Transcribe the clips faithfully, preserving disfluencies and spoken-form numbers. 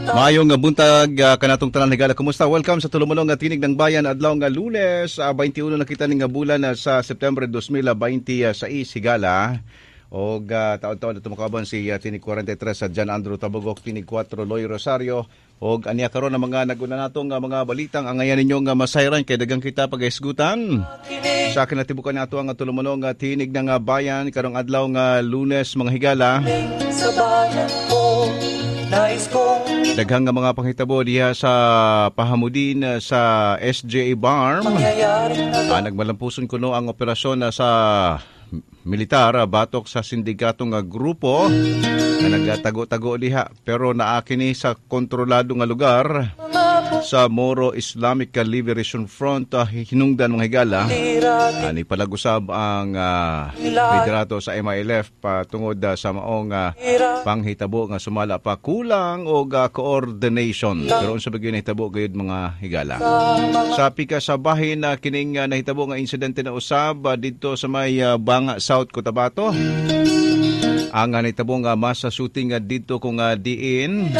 Maayong buntag uh, kanatong tanan, higala, kumusta? Welcome sa tulumonong nga Tinig ng Bayan, adlaw nga Lunes, uh, twenty-one na kita ning bulan uh, sa September twenty twenty-six, higala. Og uh, taon-taon na tumakaban si uh, Tinig forty-three sa John Andrew Tabugok, Tinig four Loy Rosario. Og aniya karon ang mga naguna natong uh, mga balitang angayan ninyong uh, masayran kay dagang kita pagahisgutan. Sa kinatibukan nato ang tulumonong nga Tinig ng uh, Bayan karong adlaw nga Lunes, mga higala. Sa bayan ko, nais kong Daghang nga mga panghitabo diha sa Pahamudin sa S J A Barm. Ah, nagmalampuson kuno ang operasyon na sa militar ah, batok sa sindikatong nga grupo nga nagtago-tago diha, pero naa kini sa kontrolado nga lugar sa Moro Islamic Liberation Front uh, hinungdan, mga higala. Uh, ni palagusab ang uh, liderato sa M I L F patungod uh, sa maong uh, panghitabo nga sumala pa kulang og uh, coordination. Pero unsa ba gyud nahitabo gayud, mga higala? Sa pika sa bahin uh, kining uh, nahitabo nga insidente na usab uh, didto sa may uh, Banga, South Cotabato. Ang uh, nahitabo nga mass shooting uh, didto kung uh, diin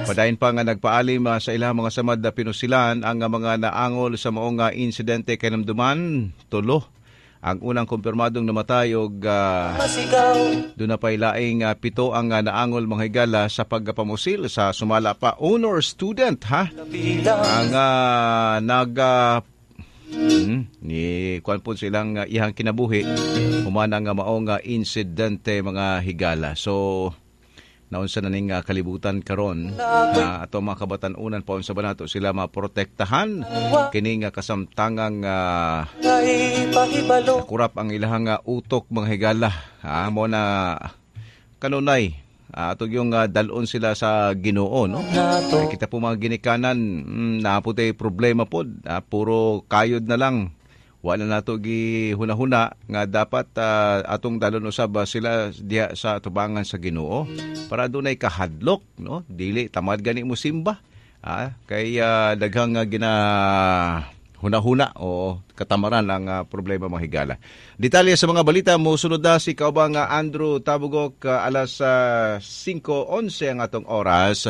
padayon pa nga nagpaalim uh, sa ilang mga samad na pinusilan ang uh, mga naangol sa maong uh, insidente. Kahinumduman, tulo ang unang kumpirmadong namatay og uh, doon na pa'y laing uh, pito ang uh, naangol, mga higala, sa pagpamusil sa sumala pa honor student ha ang uh, nag uh, Hmm, ni kuan po silang uh, ihang kinabuhi human ang uh, maong uh, insidente, mga higala. So naunsa na ning uh, kalibutan karon uh, ato mga kabatan-unan pa, unsa ba nato sila maprotektahan kining uh, kasamtangang uh, kurap ang ilahang uh, utok, mga higala. Ha, mo na kanunay uh, ato yung uh, dalon sila sa Ginoo, no? Ay, kita po mga ginikanan, mm, naa po tay problema pod, uh, puro kayod na lang, wala nato gi huna-huna nga dapat uh, atong dalon usab sila diha sa tubangan sa Ginoo para dunay kahadlok, no? Dili tamad gani mo simba, ah, kay uh, daghang uh, gina huna-huna o katamaran ang uh, problema, mga higala. Detalye sa mga balita mo sunod na si kaubang uh, Andrew Tabugok uh, alas uh, singko onse ang atong oras.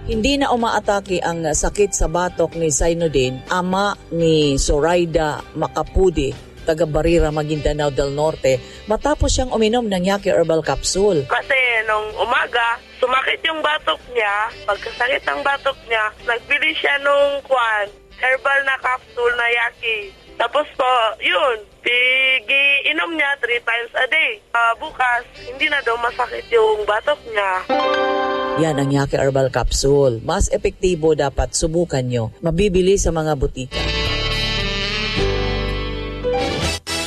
Hindi na umaatake ang sakit sa batok ni Sainudin, ama ni Zoraida Macapudi, taga Barira, Maguindanao del Norte, matapos siyang uminom ng Yaki Herbal Capsule. Kasi nung umaga, sumakit yung batok niya. Pagkasakit ang batok niya, nagbili siya nung kwan, herbal na capsule na Yaki. Tapos po, yun, pigi inom niya three times a day. Ah, bukas, hindi na daw masakit yung batok niya. Yan ang Yaki Herbal Capsule. Mas epektibo, dapat subukan nyo. Mabibili sa mga butika.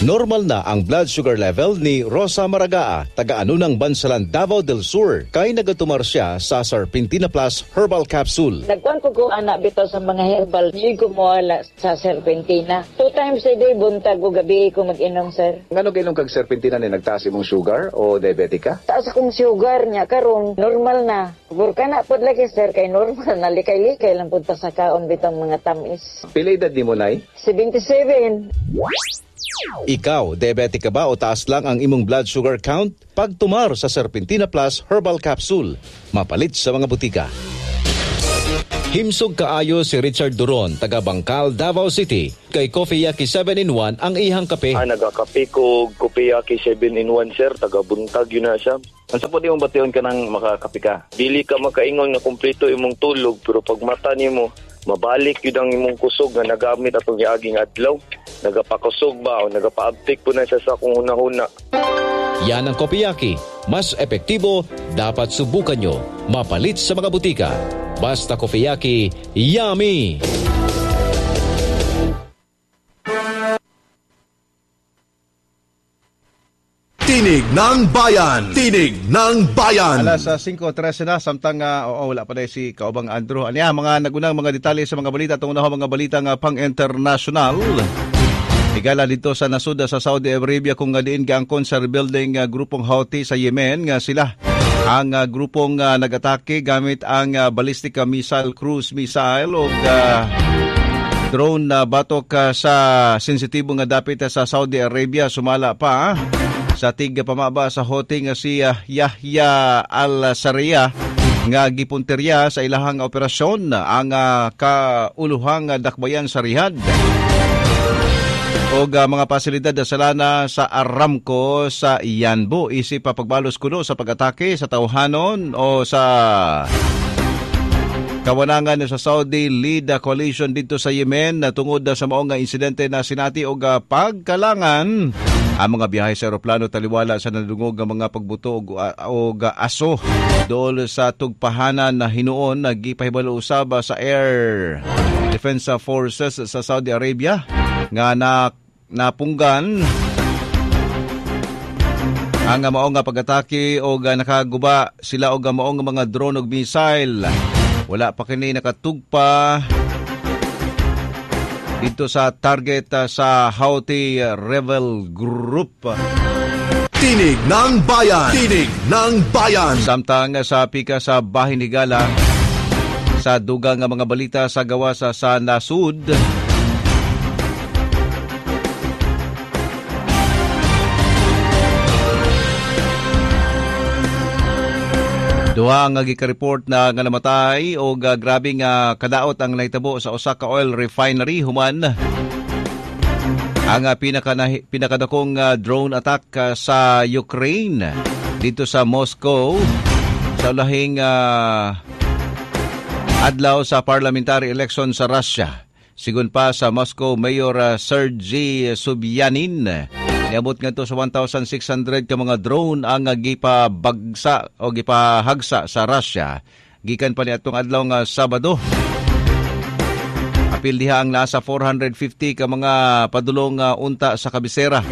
Normal na ang blood sugar level ni Rosa Maragaa, taga-Anunang Bansalan, Davao del Sur. Kay nagatumar siya sa Serpentina Plus Herbal Capsule. Nagkuan ko ko ana bitaw sa mga herbal, di ko moala sa Serpentina. Two times a day, buntag o gabi ko mag-inom, sir. Ngano kainom kag Serpentina ni nagtaas imong sugar o diabetic ka? Taas akong sugar niya karon, normal na. Burka na pod lagi, sir, kay normal na, likay-likay lang pud ta sa kaon bitang mga tamis. Pila edad nimo, nay? seventy-seven. Ikaw, diabetic ka ba o taas lang ang imong blood sugar count? Pagtumar sa Serpentina Plus Herbal Capsule. Mapalit sa mga butika. Himsog kaayo si Richard Duron, taga Bangkal, Davao City. Kay Coffee Yaki seven in one ang ihang kape. Ah, nagakape ko, Kopiyaki seven in one, sir, taga buntag yun na siya. Unsa po imong bation kanang makakape ka? Dili ka makaingon nga kumpleto imong tulog, pero pag mata nimo, mabalik yun ang imong kusog nga nagamit atong giaging adlaw. Nagapakusog ba o nagapaabtik po na siya sa akong hunahuna. Yan ang Kopiyaki. Mas epektibo, dapat subukan nyo. Mapalit sa mga butika. Basta Kopiyaki, yummy! Tinig ng Bayan! Tinig ng Bayan! Alas uh, singko trese na, samtang uh, oo, wala pa na si Kaubang Andrew. Aniya, mga nagunang mga detalye sa mga balita, tungod na mga balita nga pang-international. Higala, dito sa nasuda sa Saudi Arabia kung nga diin gaangkon sa rebuilding uh, grupong Houthi sa Yemen nga sila ang uh, grupong uh, nagatake gamit ang uh, ballistic missile, cruise missile ug uh, Drone na batok uh, sa sensitibo nga dapit sa Saudi Arabia sumala pa sa tig pamaba sa Houthi nga si uh, Yahya al-Sarea nga gipunterya sa ilahang operasyon ang uh, kauluhang dakbayan sa Riyadh og uh, mga pasilidad sa lana sa Aramco sa Yanbu isip pa pagbalos kuno sa pag-atake sa tawhanon o sa kawanangan sa Saudi lead coalition dito sa Yemen na tungod sa mao nga insidente na sinati og pagkalangan ang mga biyahe sa eroplano taliwala sa nadungog nga mga pagbuto og, og aso dool sa tugpahanan na hinuon nagipahibalo usab sa Air Defense Forces sa Saudi Arabia nga na napunggan ang mao nga pag-atake og nakaguba sila og mao nga mga drone og missile. Wala pa kini nakatugpa dito sa target sa Houthi Rebel Group. Tinig ng Bayan! Tinig ng Bayan! Samtang sa pika sa Bahin Higala, sa dugang nga mga balita sa gawas sa nasud, duha nga gika-report na nga namatay og uh, grabe nga kadaot ang nahitabo sa usa ka oil refinery human ang uh, pinaka pinakadakong uh, drone attack uh, sa Ukraine dito sa Moscow sa ulahing uh, adlaw sa parliamentary election sa Russia. Sigon pa sa Moscow Mayor uh, Sergei Sobyanin, niabot ngadto sa one thousand six hundred ka mga drone ang gipabagsa o gipahagsa sa Russia gikan pa niadtong adlaw nga Sabado. Apil diha ang nasa four hundred fifty ka mga padulong uh, unta sa kabisera.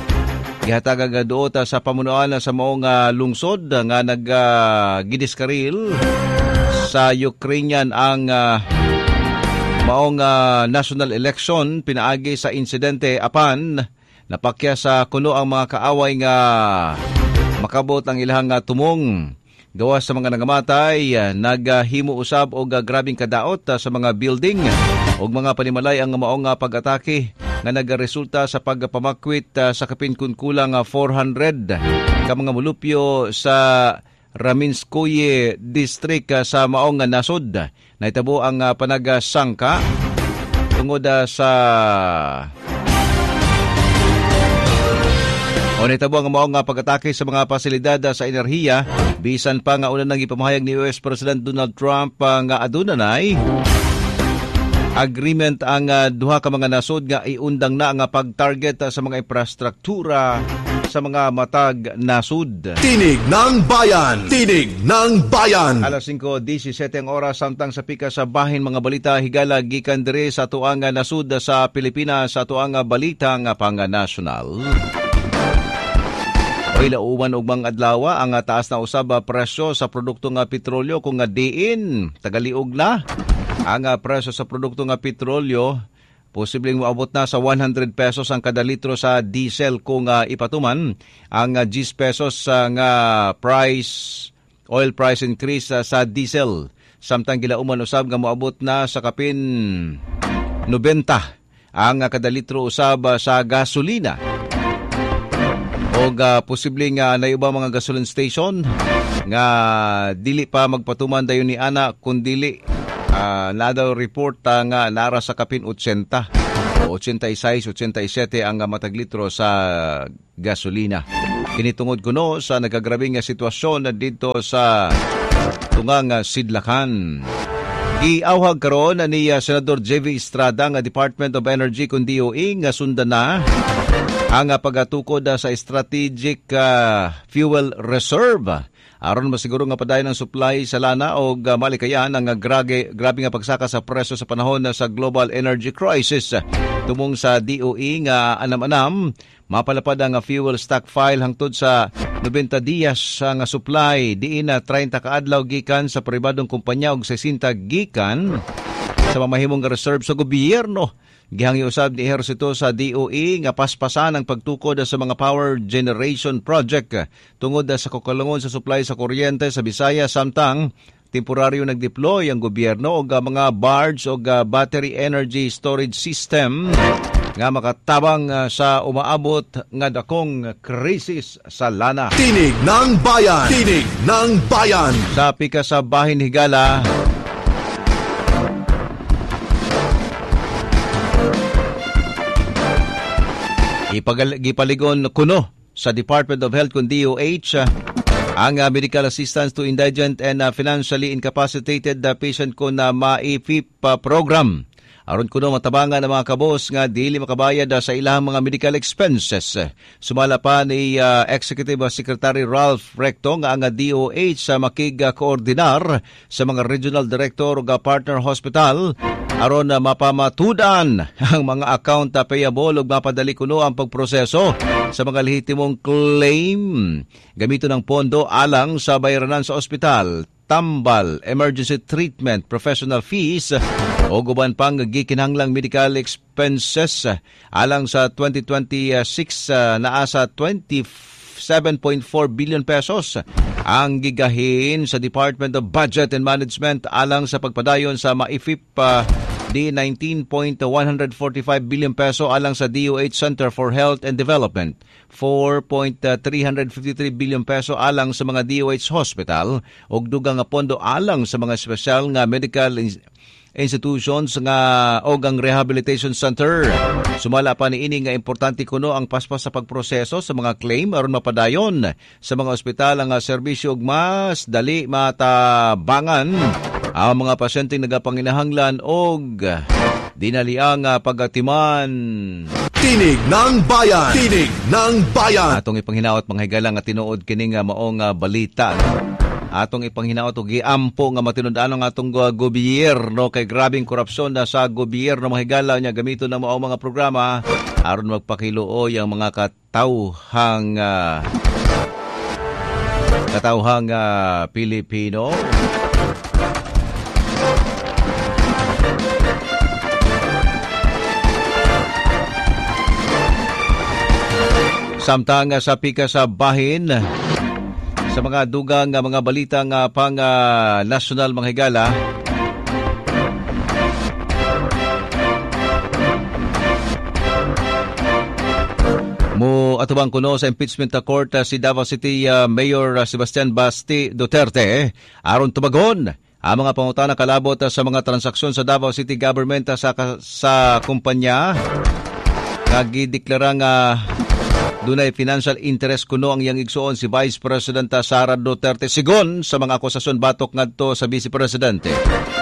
Gihatag ang duot sa pamunuan sa maong uh, lungsod nga naggidiskaril uh, sa Ukrainian ang uh, maong uh, national election pinaagi sa insidente apan napakya sa kuno ang mga kaaway nga makabot ang ilahang tumong. Gawas sa mga nangamatay, naghimo usab og grabing kadaot sa mga building og mga panimalay ang maong pag-atake nga nagresulta sa pagpamakwit sa kapin kun kulang four hundred ka mga mulupyo sa Raminskoye District sa maong nasod. Nahitabo ang panagsangka tungod sa o nitabo ang maong pag-atake sa mga pasilidad sa enerhiya, bisan pa nga una nang ipamahayag ni U S President Donald Trump nga aduna nay agreement ang duha ka mga nasod nga iundang na nga pag-target sa mga infrastruktura sa mga matag nasod. Tinig ng Bayan! Tinig ng Bayan! Alas singko disisete ang oras samtang sa pika sa bahin mga balita higala gikan diri sa atuang nasod sa Pilipinas sa atuang balita nga pang-national. Ilauman og mga adlaw ang taas na usab presyo sa produkto nga petrolyo kung nga diin tagaliog na ang presyo sa produkto nga petrolyo posibleng moabot na sa one hundred pesos ang kada litro sa diesel kung uh, ipatuman ang uh, ten pesos uh, nga price oil price increase uh, sa diesel samtang gilauman usab nga moabot na sa kapin ninety ang uh, kada litro usab uh, sa gasolina. Og uh, posible nga na iba mga gasoline station nga dili pa magpatuman dayon ni ana kun dili uh, na daw report uh, nga nara sa kapin eighty o eighty-six, eighty-seven ang uh, matag litro sa gasolina. Kini tungod kuno sa nagagrabe nga sitwasyon na dito sa tungang uh, sidlakan. Giawhag karon ni uh, Senador J V Estrada nga Department of Energy kun D O E nga sundan na ang pagatukod sa Strategic uh, Fuel Reserve aron masiguro nga padayon ang supply sa lana og uh, malikayan ang uh, grabe, grabe nga pagsaka sa presyo sa panahon sa global energy crisis. Tumong sa D O E nga anam-anam mapalapad ang fuel stock file hangtod sa ninety diyas nga supply diin na thirty ka adlaw gikan sa pribadong kumpanya og sixty gikan sa mamahimong reserve sa gobyerno. Gihangyo usab ni ehersito sa D O E nga paspasan ang pagtukod sa mga power generation project tungod sa kakulangon sa supply sa kuryente sa Bisaya samtang Temporaryo nagdeploy ang gobyerno og mga barge og battery energy storage system nga makatabang sa umaabot nga dakong krisis sa lana. Tinig ng Bayan! Tinig ng Bayan! Sa pika sa bahin higala, ipagal, gipaligon kuno sa Department of Health kun D O H ang uh, medical assistance to indigent and uh, financially incapacitated uh, patient kun uh, MAIFIP uh, program. Aron kuno matabangan ang mga kabos nga dili makabayad uh, sa ilang mga medical expenses. Sumala pa ni uh, Executive Secretary Ralph Recto nga ang D O H sa uh, makig-koordinar sa mga regional director ug partner hospital aron uh, mapamatudan ang mga account payable ug mapadali kuno ang pagproseso sa mga lehitimong claim. Gamiton ang pondo alang sa bayaranan sa ospital, tambal, emergency treatment, professional fees o guban pang gikinahanglang medical expenses alang sa twenty twenty-six uh, naa sa twenty-seven point four billion pesos ang gigahin sa Department of Budget and Management alang sa pagpadayon sa MAIFIP uh, di nineteen point one four five billion peso alang sa D O H Center for Health and Development, four point three five three billion peso alang sa mga D O H hospital ug dugang nga pondo alang sa mga espesyal nga medical institutions nga og ang rehabilitation center. Sumala pa niini nga importante kuno ang paspas sa pagproseso sa mga claim aron mapadayon sa mga ospital ang serbisyo ug mas dali matabangan ang mga pasyenteng nagapanginahanglan og dinaliang pagatiman. Tinig ng Bayan! Tinig ng Bayan! Atong ipanghinaot mga higala nga tinuod kining maong balita. Atong ipanghinaot og giampo nga matinud-an ang atong gobyerno kay grabeng korupsyon na sa gobyerno mga higala nya gamiton na mao mga programa aron magpakiluoy ang mga katawhang uh, katawhang uh, Pilipino. Samtang sa pika sa bahin sa mga dugang mga balita nga pang uh, national mga higala, mo atubang kuno sa impeachment court si Davao City uh, Mayor Sebastian Basti Duterte eh, aron tubagon ang mga pangutana kalabot sa mga transaksyon sa Davao City Government sa sa kumpanya nga gideklara nga dunay financial interest kuno ang iyang igsuon si Vice President Sara Duterte sigon sa mga akusasyon batok ngadto sa Vice Presidente.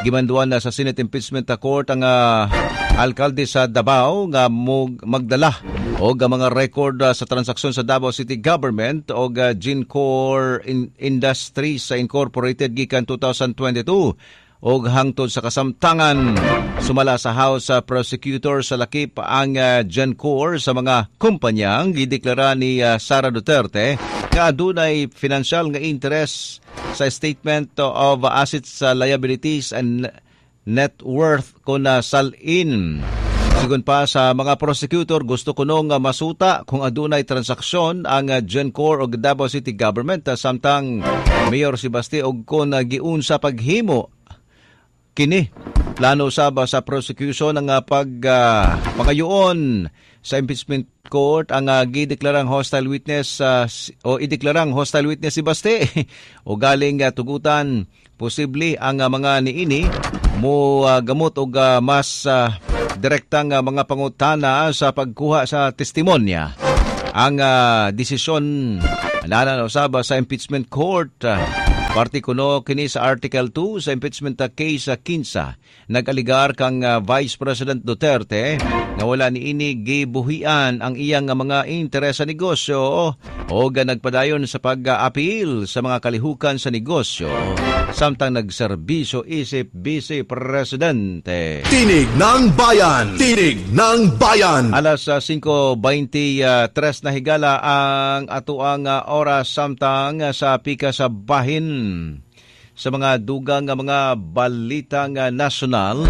Gimanduan na sa Senate Impeachment Court ang uh, alkalde sa Davao nga magdala og mga record uh, sa transaksyon sa Davao City Government og uh, Gincor in- Industries Incorporated gikan two thousand twenty-two og hangtod sa kasamtangan. Sumala sa House uh, Prosecutor sa lakip ang uh, Gencor sa mga kumpanyang gideklara ni uh, Sara Duterte nga adunay financial nga interest sa Statement of Assets, Liabilities and Net Worth kun salin. Sigon pa sa mga prosecutor, gusto kuno nga masuta kung adunay transaksyon ang Gencor og Davao City Government samtang Mayor Sebastian og kon giunsa paghimo kini. Plano usab sa prosecution ang pag uh, pangayoon sa impeachment court ang uh, gideklarang hostile witness uh, o ideklarang hostile witness si Baste o galing uh, tugutan posible ang uh, mga niini mo uh, gamot og uh, mas uh, direktang uh, mga pangutana sa pagkuha sa testimonya. Ang uh, desisyon nana usab sa impeachment court. Uh, Parte kuno kini sa Article two sa impeachment case sa kinsa. Nag-aligar kang uh, Vice President Duterte nga wala niini gibuhian ang iyang mga interes sa negosyo o nagpadayon sa pag-appeal sa mga kalihukan sa negosyo samtang nagserbisyo isip Vice Presidente. Tinig ng Bayan! Tinig ng Bayan! Alas singko beinte-tres na higala ang atuang oras samtang sa pika sa bahin. Sa mga dugang mga balitang nasyonal,